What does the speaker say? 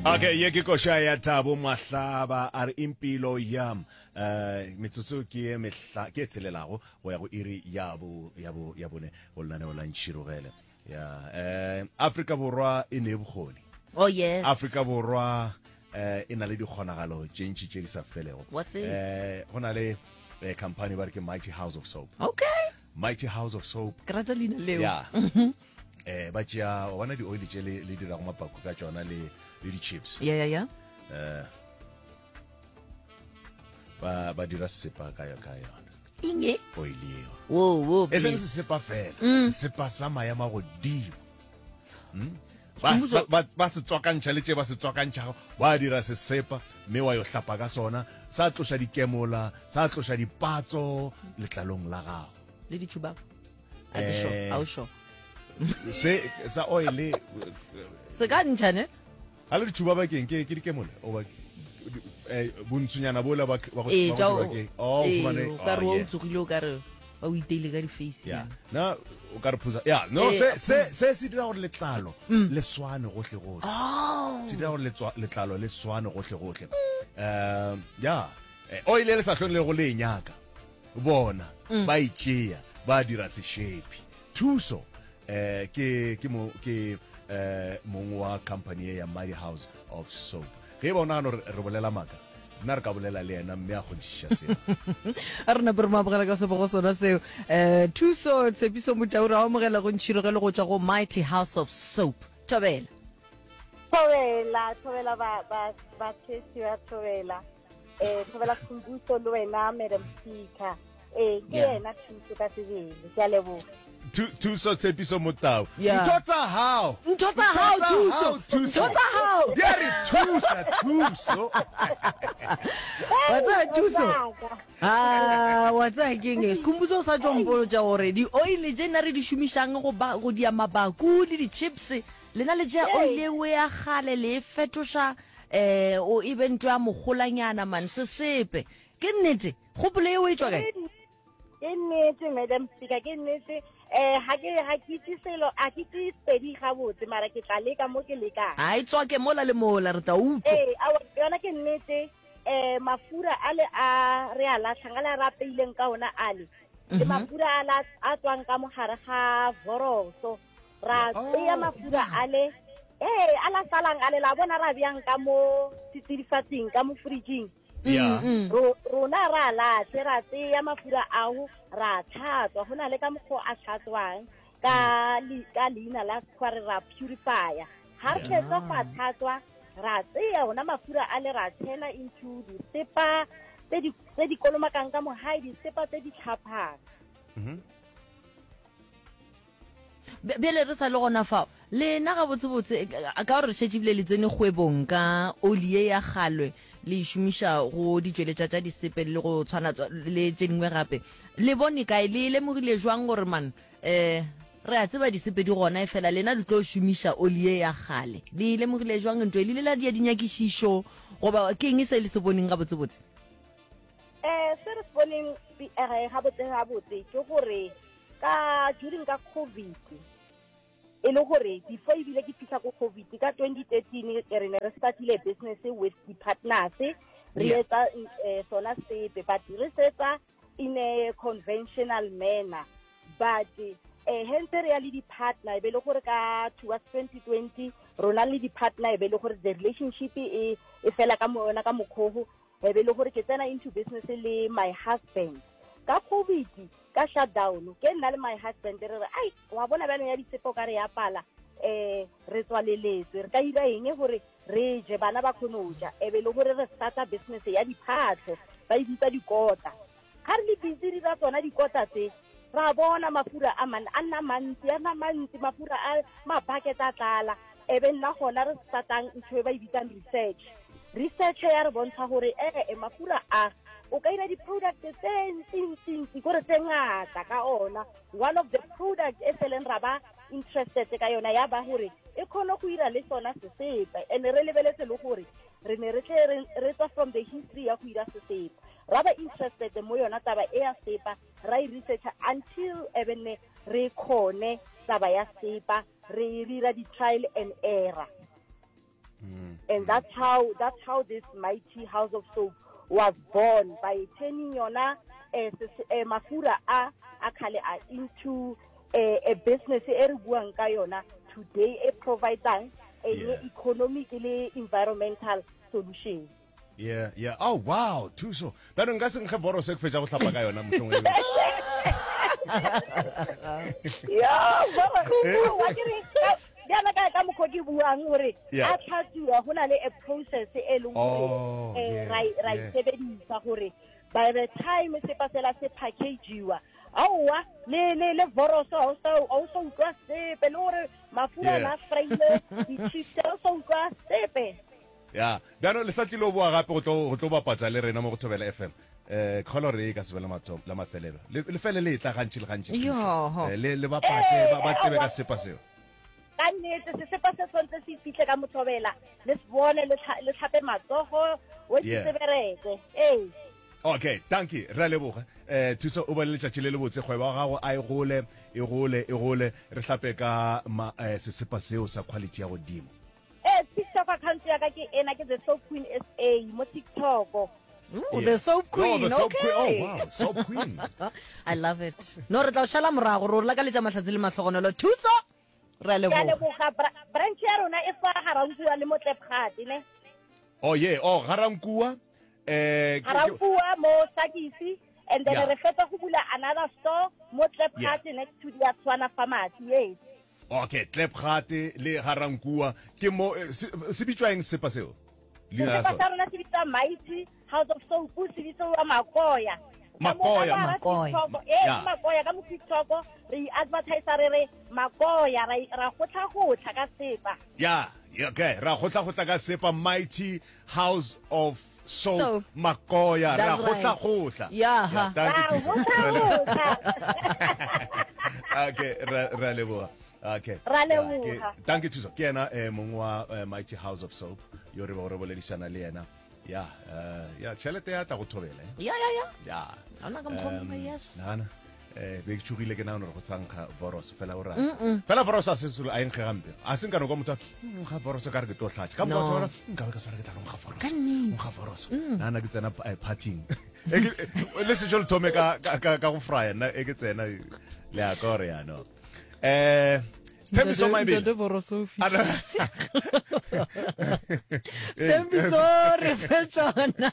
Okay, ye ke koša ya Thabo Mahlaba a re impilo yam. Eh metsotso ke ye mehla ke e tshelelago go ya go iri ya bo ya bo ya bone go lenaneo la Ntšhirogele. Ya eh Afrika Borwa e ne bokgoni. Oh yes. Afrika Borwa eh e na le dikgonagalo tše ntši tše di sa felego. What's it? Eh go na le eh, company ba re ke Mighty House of Soap. Okay. Mighty House of Soap. Ke rata leina leo. Yeah. Eh ba tšea wa bona di-oil tše le le dirago mapaku ka tšona le le di-chips. Yeah yeah yeah. Eh ba ba dira sesepa ka ka yona. Inge? Oil eo. Wo wo. E seng sesepa fela, sesepa sa maemo a godimo. Hmm? Ba, ba, ba, ba se tswakantšha le tše ba se tswakantšhago, ba dira sesepa mme wa yo hlapa ka sona, sa tloša dikemola, sa tloša dipatso letlalong la gago. Le ditšhubaba. A ke sure, Eh. a o sure. Se sa oil Se ka ntšha ne? ga le ditšhubaba keng ke ke dikemola oba eh, bontshonyana bola ba ba go Ee, ba tša go o- dirwa ke oh ee, fumane o ka re oh, wa o yeah. tsogile o ka re ba o iteile ka di-face ya nyana. na o ka re phusa ya no Ee, se a se se se dira gore letlalo le swane gohle gohle Oh. se dira gore letswa- letlalo le swane gohle gohle um ya eh, oil e le sa hlong le go le e nyaka bona ba e tšea ba dira sešepi thuso eh ke ke mo ke eh mong wa company ye ya Mighty House of Soap ge e ba o nagana gore re bolela maaka nna re ka bolela le yena mme a kgonthišiša seo A re nape re mo amogela ka sebogo sona seo. Eh, Thuso Tshepiso Motau re a amogela go Ntšhirogelo go tšwa go Mighty House of Soap. Thobela. Thobela, thobela ba ba ba tshesi ba thobela. Eh thobela Khumbuso le wena Madam Speaker. Eh ke Yeah. yena thuso ka sebele. Ke a leboga. Thuso Tshepiso Motau. Yeah. Ntho tsa hao. Ntho tsa hao, Thuso. Thuso. Ntho tsa hao. Di a re thusa, Thuso. Wa tseba Thuso? Ah, wa tseba ke eng? Sekhumbuso o sa tšo mpolotša gore di-oil tše nna re di šomišang go ba go dia mabaku le di-chips, lena le tšea oil eo ya kgale le e fetoša eh o e be ntho ya mogolanyana man sesepe. Ke nnete? Kgopolo eo e tšwa kae? Ke nnete Madam Speaker, ke nnete. Eh ha ke ha ke itse selo, a ke itse Sepedi gabotse mara ke tla leka mo ke lekang. A e tswake mola le mola re tla utlwa. Ee, aowa yona ke nnete. Eh mafura a le a re a latlhang a le a re apeileng ka ona ale le mafura a la a tswang ka mogare ga voroso ra tseya mafura ale ee a la salang ale la bona ra bjang ka mo setsidifatsing ka mo fridging Yeah. Mm, mm. Ro- rona ra latlhe ra tseya mafura ao ra tlhatswa go na le ka mokgwa o a tlhatswang ka le- ka leina la sekgwa re ra purifier ga re fetsa go a tlhatswa ra tseya ona mafura a le ra tshela into disepa tse di tse di kolomakang ka mogae disepa tse di tlhaphang Bjale re sa le gona fao, lena gabotsebotse, ka gore re šetše ebile le tsene kgwebong ka oli ye ya kgalwe, le e šomiša go ditšweletša tša disepe le go tshwana le tše dingwe gape, le bone kae, le e lemogile jwang gore man, um re a tseba disepe di gona, efela lena le tlo šomiša oli ye ya kgale? Le e lemogile jwang ntho e? Le ile la dia dinyakišišo goba ke eng se le se boneng gabotsebotse? Um se re se boneng gabotse gabotse ke gore ka during ka covid e le gore before ebile ke fitlha ko covid ka 2013 re ne re startile business with di-partners re etsa eh, sona sepe but re setsa in a conventional manner but eh hentse re ya le di-partner e be le gore ka towards 2020 rona le di-partner e be le gore the relationship e e fela ka yona ka mokgogo e be le gore ke tsena into business le my husband ka covid ka shutdown ke nna le my husband re re ai wa bona bjalo ya ditsepo ka re ya pala eh re tswaleletswe re ka ira eng gore re je bana ba kgone go ja e be le gore re starta business ya diphatlho ba e bitsa dikota Ga re le busy re dira tsona dikota tse, ra bona mafura a man a nna mantsi, a nna mantsi, mafura a ma-bucket a tlala. E be nna gona re startang ntho e ba e bitsang research. Research ya re bontsha gore ee mafura a o ka ira di-product tse ntsi-ntsi-ntsi kore tse ngata ka ona. One of the product e seleng ra ba interested ka yona ya ba gore e kgone go ira le sona sesepa and re lebeletse le gore re ne re tle re tswa from the history ya go ira sesepa ra ba interested mo yona taba e ya sepa ra e researcha until ebene re khone taba ya sepa re dira di-trial and error mm. And that's how that's how this mighty house of soap was born by turning yona eh, eh, mafura a a khale a into a, a business e re buang ka yona today e providang a yeah. economic le environmental solution. Yeah, yeah. Oh, wow, thuso. Bjalo nka se nkge voros e ke fetša go hlapa ka yona mohlong e. Yo, voro, wa ke re bjalo ka ka mokgwa ke buang gore a tlhatsuwa go na le a process e leng gore oh, eh, ra ra e sebedisa gore by the time sepa sela se packagiwa aowa le le le voroso ga o sa utlwa sepe le gore mafura na fraile di-chips ga o sa utlwa sepe Ya, bjano le sa tlilo boa gape go tlo go tlo bapatša le rena mo go Thobela FM. Eh, ke kgolwa gore e ka se be la mathomo la mafelelo. Le le fele le etla gantši le gantši thušo. Yoho. Eh, le le bapatše ba ba tsebe ka sepa seo. Ka nnete sesepa se tshwanetse se fihle ka mothobela le se bone le tlha- le tlhape matsogo o se Yeah. se bereke ee Okay, dankie, re a leboga. Eh, Thuso o ba le letšatši le lebotse, kgwebo ya gago a e gole, e gole, e gole, re hlape ka ma, eh, sesepa seo sa quality ya godimo. Ee, TikTok account ya ka ke ena, ke The Soap Queen SA mo TikTok. Ooh, Yeah. The Soap Queen. No, the Soap okay. Queen. Oh, wow, Soap Queen. I love it. No, re tla o šala morago, re o lakaletša mahlatse le mahlogonolo. Thuso, re a Ke a leboga. leboga. Bra- Branch ya rona e fa Garankuwa le mo Tlepgate, ne? Oh, yeah. Oh, Garankuwa. Eh, ke- ke- Garankuwa mo Sakisi and then Yeah. re fetsa go bula another store mo Tlepgate next to the Tswana Pharmacy. Yes. Okay, Klipgate le Garankuwa ke mo eh, se, se bitšwa eng sepa seo? Leina la Sepa sona. sa rona se bitsa Mighty House of Soap, se bitsiwa Makoya. Makoya, Makoya. Ee, Yeah. Makoya ka mo TikTok re i-advertise re re Makoya ra ra gotlha-gotlha ka sepa. Ya, yeah, okay, ra gotla-gotla ka sepa Mighty House of Soap, Soap. Makoya, ra That's right. gotla-gotla. Yeah, ha. thank you, Ra Thuso. Ra leboga. gotlha-gotlha. Okay, ra ra leboga. Okay. Ra Yeah, leboga. ke- Thank you Thuso. Ke yena eh, mong wa eh, Mighty House of Soap yo re bego re boledišana le yena. Ya, eh, ya tšhelete ya tla go thobela. Eh? Ya, ya, ya. Ya. Ga ona ka mokgwa o mongwe, yes. Nana. Eh, be ke tšhogile ke nagana gore go tsankga voros fela o ra. Fela voros a se selo a e nkge gampe. A se nka no kwa motho a, "Mm, nkga voros ka re ke tlo hlatša. Ka No. motho wa nka be ka tshwara ke tla no nkga voros. Ka nnete. Nkga voros. Nana ke tsena eh, partying. E ke- eh, le sešo le thome ka ka ka ka go fraya nna e ke tsena le a kore ya no. Eh Sthembiso Maibele. Ntate Vorosofi. Ana- Sthembiso, re fe tšona.